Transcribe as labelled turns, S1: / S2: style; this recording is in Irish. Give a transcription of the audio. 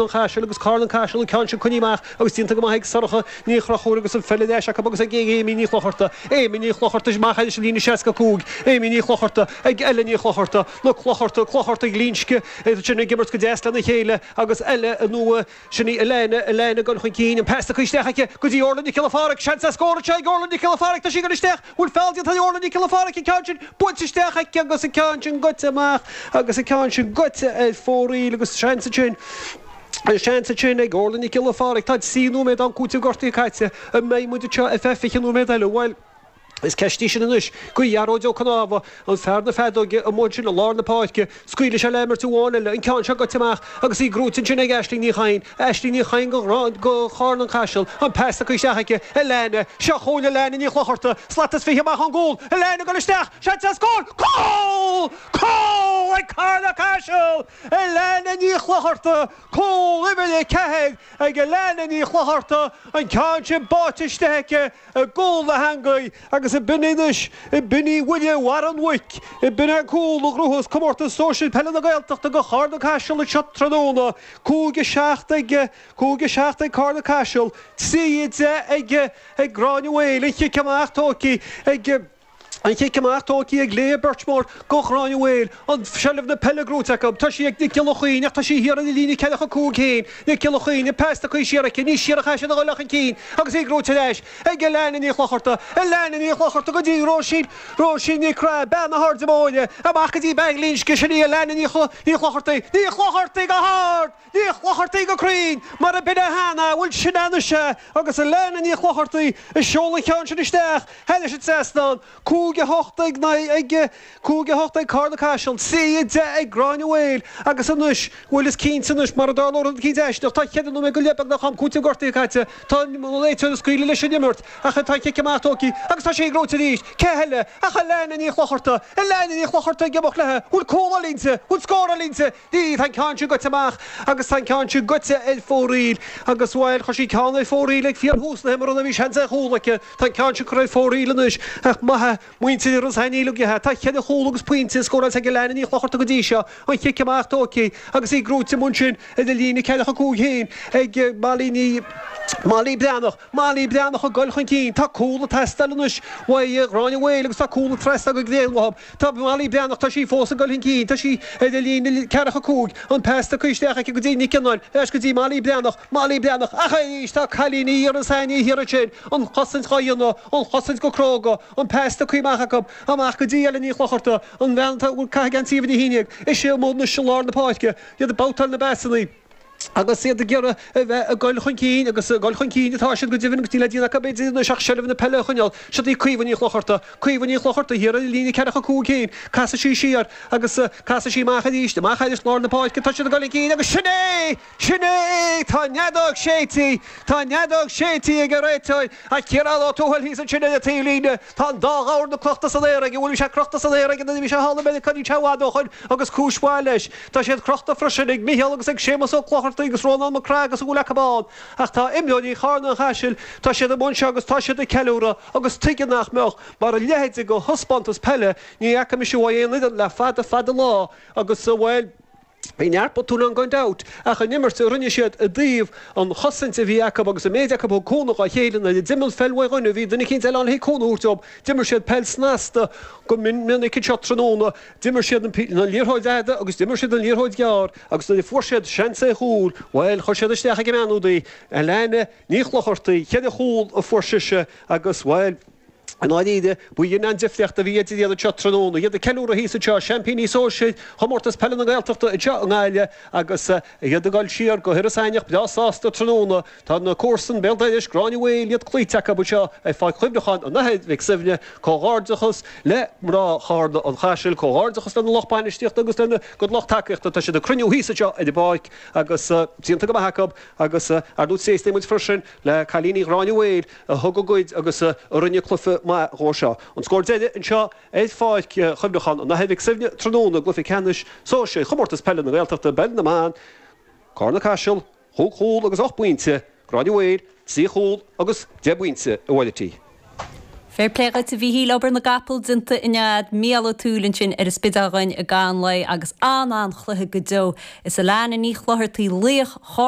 S1: An Chaisil agus Carna Caiseal an ceann sin coinnithe amach agus déanta go maith ag Sorcha Ní Chonchúir agus an pheil ar ais acu agus ag Amy Ní Chlochartaigh. Amy Ní Chlochartaigh amach thairis an líne 65. Amy Ní Chlochartaigh ag Ella Ní Chlochartaigh. Na Clochartaigh, Clochartaigh Glinsce iad sin ag imirt go deas lena chéile agus Ella nó sin í Elena, Elena ag dul chun cinn, an pas tugtha isteach aici go dtí Orla Nic Giolla Phádraig. Seans ar scór anseo ag Orla Nic Giolla Phádraig. Tá sí ag dul isteach. Bhfuil feall déanta ar Orla Nic Giolla Phádraig an ceann sin buailte isteach aici agus an ceann sin goite amach agus an ceann sin goite ar fóraoil agus seans ansin seans ansin ag Orla Nic Giolla Phádraig. Tá 3 nóiméad d'am cúitimh gortaithe caite. An mbeidh muid anseo ar feadh 20 nóiméad eile? Bhuel, is ceist í sin anois go Ghearóid Ó Cnámha, an fear na feadóige amuigh ansin i lár na páirce. Scaoilfidh sé le himirt amháin eile, an ceann seo goite amach agus í gnóite ansin ag Aisling Ní Chadhain. Aisling Ní Chadhain go Charna an Caiseal, an pas tugtha isteach aici, Alana, seo chugainn Alana Ní Chlochartaigh, slat is 20 amach ón gcúl, Alana ag dul isteach, seans ar scór, cúl! Cúl ag Carna Caiseal! Alana Ní Chlochartaigh, cúl uimhir 4 ag Alana Ní Chlochartaigh, an ceann sin báite isteach aici i gcúl na heangaí agus ab in anois, ab in í buille bharr an mhuic, ab in é an cúl a ghnóthós Comórtas Sóisir Peile na Gaeltachta go Charna Caiseal anseo tráthnóna, 5 7 ag, 5 7 ag Carna Caiseal, 3 10 ag, ag Gráinne Mhaol, an chic amach tógtha ag. An chic amach tógtha ag Leah Birchmore go Ghráinne Mhaol. An seilbh na peile gnóite acu. Tá sí ag Nic Giolla Chaoin ach tá sí thiar ar an líne 45 féin. Nic Giolla Chaoin, an pas tugtha siar aici. Ní siar a chaithfidh siad a dhul ach chun cinn agus í gnóite ar ais ag Alana Ní Chlochartaigh. Alana Ní Chlochartaigh go dtí Róisín, Róisín Nic Craith, bean na hAirde Móire. Amach go dtí bean Ghlinsce, sin í Alana Ní Chlochartaigh. Ní Chlochartaigh go hard! Ní Chlochartaigh go cruinn, mar a b'in é cheana, bhuel sin é anois é, agus Alana Ní Chlochartaigh ag seoladh an cheann sin isteach thairis an trasnán, 5 8 ag ag 5 8 ag Carna Caiseal, 3 10 ag Gráinne Mhaol, agus anois, bhuel is cinnte anois, mar a dtarlódh rud eicínt aisteach, tá cheithre nóiméad go leith beagnach am cúitimh gortaithe caite, tá an réiteoir ag scaoileadh leis an imirt, ach tá an chic amach tógtha agus tá sí gnóite arís, cé eile ach Alana Ní Chlochartaigh, Alana Ní Chlochartaigh ag imeacht léi, bhfuil cúl á inti, bhfuil scór á inti, Ní, tá an ceann sin goite amach agus tá an ceann sin goite ar fóraoil agus, bhuel, chuir sí ceann ar fóraoil ag fíorthús na himeartha bhí seans ar chúl aici. Tá an ceann sin curtha ar fóraoil anois ach maith muintir Iorras Aithneach uilig. Tá cheithre chúl agus pointe scóráilte ag Alana Ní Chlochartaigh go dtí seo. An chic amach tógtha agus í gnóite amuigh ansin ar an líne 45 féin ag Molly Ní, Molly Breathnach. Molly Breathnach ag goil chun cinn. Tá cúl ag teastáil anois uaidh Ghráinne Mhaol agus tá cúl ag teastáil go gréin uathu. Tá Molly Breathnach, tá sí fós ag goil chun cinn, tá sí ar an líne 45, an pas tugtha isteach aici go dtí Nic Fhionnáin, ar ais go dtí Molly Breathnach, Molly Breathnach, ach arís tá cailíní Iorras Aithneach thiar ansin, an chosaint dhá dhéanamh, an chosaint go cróga, an pas tugtha amach acu, amach go dtí Ellen Ní Chlochartaigh, an bhean atá ag caitheamh geansaí uimhir 11, ise amuigh anois i lár na páirce, iad ag babhtáil na bpasanna. agus iad ag iarraidh a bheith ag goil chun cinn, agus ag goil chun cinn atá siad go deimhin agus níl le déanamh acu b'fhéidir anois ach seilbh na peile a choinneáil. Siod í Caoimhe Ní Chlochartaigh. Caoimhe Ní Chlochartaigh thiar ar an líne 45 féin. Casfaidh sí siar agus casfaidh sí amach arís, amach thairis lár na páirce. Tá siad ag goil chun cinn agus sin é! Sin é! Tá an fheadóg séidte! Tá an fheadóg séidte ag an réiteoir ach Ciarán Ó Tuathail thíos ansin ar an taobhlíne. Tá an dá dhorn crochta san aer aige, bhuel bhí sé crochta san aer aige nuair a bhí sé thall i Meiriceá níl sé i bhfad ó shoin agus cúis mhaith leis. Tá siad crochta freisin ag Micheál agus ag Séamus Ó Clochartaigh agus Rónán Mac Craith agus a bhfuil acu ann. Ach tá imreoirí Charna an Chaisil, tá siad amuigh anseo agus tá siad ag ceiliúradh agus tuige nach mbeadh, mar a leithéid de thaispeántas peile ní fhaca mise uaidh aon fhoireann le fada fada lá agus, bhuel, Bhí neart botún ann gan dabht, ach an imirt a rinne siad i dtaobh an chosaint a bhí acu agus an méid acu a thug cúnamh dhá chéile nuair a d'imigh an pheil uaidh dhuine bhí duine eicínt eile ann le cúnamh a thabhairt dóibh. D'imir siad peil snasta go minic anseo tráthnóna. D'imir siad an liathróid fhada agus d'imir siad an liathróid ghearr agus nuair a fuair siad seans ar chúl, bhuel, chuir siad isteach ag an mbean úd í, Alana Ní Chlochartaigh. Cheithre chúl a fuair sise agus, bhuel, I ndáiríre, ba í an difríocht a bhí idir iad anseo tráthnóna. Iad ag ceiliúradh thíos anseo, seaimpíní sóisir Chomórtas Peile na Gaeltachta anseo i nGaillimh agus iad ag dul siar go hIorras Aithneach breá sásta tráthnóna. Tá na comharsana béal dorais, Gráinne Mhaol, iad cloíte acu anseo ar Pháirc Chuimhneacháin an Athar Mhic Suibhne. Comhghairdeachas le mná Charna an Chaisil, comhghairdeachas lena lucht bainistíochta agus lena gcuid lucht tacaíochta. Tá siad ag cruinniú thíos anseo ar an bpáirc agus déanta go maith acu agus ar ndóigh tréaslaíonn muid freisin le cailíní Ghráinne Mhaol a thug a gcuid agus a rinne cluiche maith dhó seo. An scór deiridh anseo ar Pháirc Chuimhneacháin an Athar Mhic Suibhne tráthnóna i gcluiche ceannais sóisir Chomórtas Peile na Gaeltachta i bPeil na mBan, Carna Caiseal, chúig chúl agus ocht bpointe, Gráinne Mhaol, trí chúl agus deich bpointe a Mháirtín.
S2: Fair plé dhuit a Mhíchíl, obair na gcapall déanta inniu a'd, Mícheál Ó Tuathail ansin ar an Spidéal dhuinn i gcaitheamh an lae agus an-an-chluiche go deo. Is Alana Ní Chlochartaigh laoch Chorn.